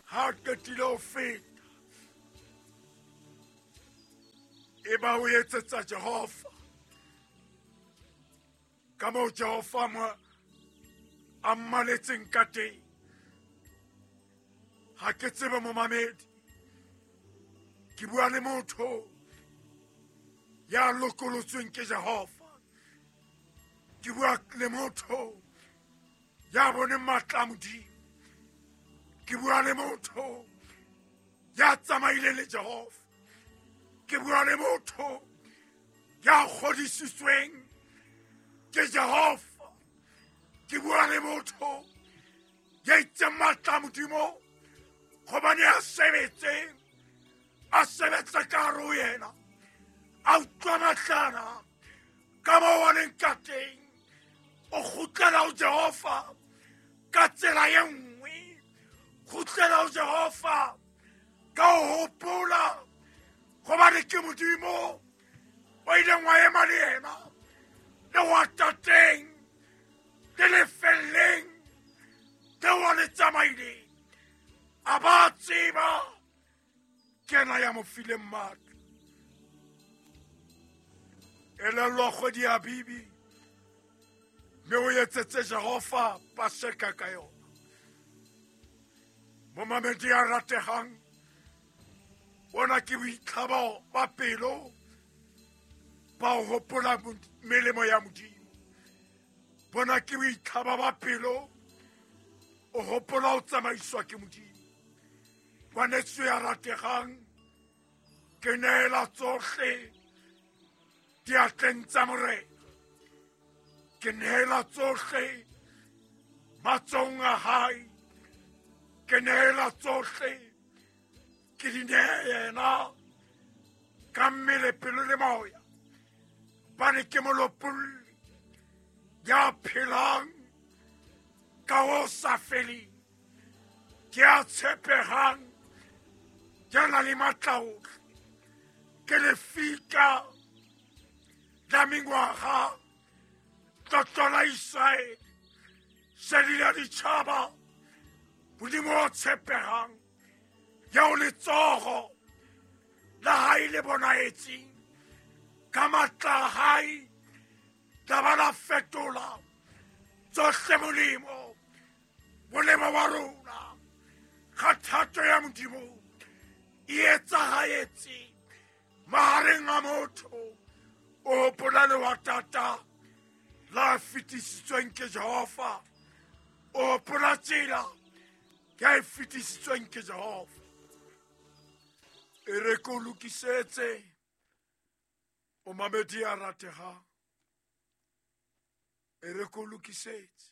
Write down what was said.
Ha qetile ho feta, e ba o etsetsa Jehova ka moo Jehova mo a mmaletseng ka teng. Ha ke tsebe momamedi, ke bua le motho ya lokolotsweng ke Jehova, ke bua le motho ya boneng matla a Modimo, ke bua le motho ya tsamaileng le Jehova, ke bua le motho ya kgodisitsweng ke Jehova, ke bua le motho ya itseng matla a Modimo gobane a sebetse, a sebetse ka hare ho yena, a utlwa matlana ka moo a leng ka teng. O kgutlela ho Jehova ka tsela ye nngwe, kgutlela ho Jehova ka ho hopola gobane ke Modimo o ileng wa ema le yena le wa tateng le lefelleng leo a le tsamaileng, a ba tseba ke yena ya mo fileng matla. Elellwa kgwedi ya Bibi mme o etsetse Jehova Paseka ka yona. Momamedi ya rategang, bona ke boitlhabo ba pelo ba ho hopola melemo ya Modimo. Bona ke boitlhabo ba pelo o hopola ho tsamaiswa ke Modimo. Ngwaneso ya rategang, ke neela tsohle diatleng tsa Morena, ke neela tsohle matsohong a hae, ke neela tsohle, ke di nehe yena ka mmele, pelo le moya, bane ke molopolli ya phelang ka ho sa feleng, ke a tshepegang, ke na le matla ohle, ke lefika la mengwaga, tlotlo la Israele, sedi la ditšhaba, Modimo o tshepegang, yeo letsogo la hae le bonahetseng ka matla a hae, la ba la fetola tsohle molemo, molemo wa rona. Ga thato ya Modimo e etsahetse mahareng a motho, o hopola lewatata la fetisitsweng ke Jehova, o hopola tsela ya e fetisitsweng ke Jehova. E re ke o lokisetse, o mamedi ya rategang, e re ke o lokisetse.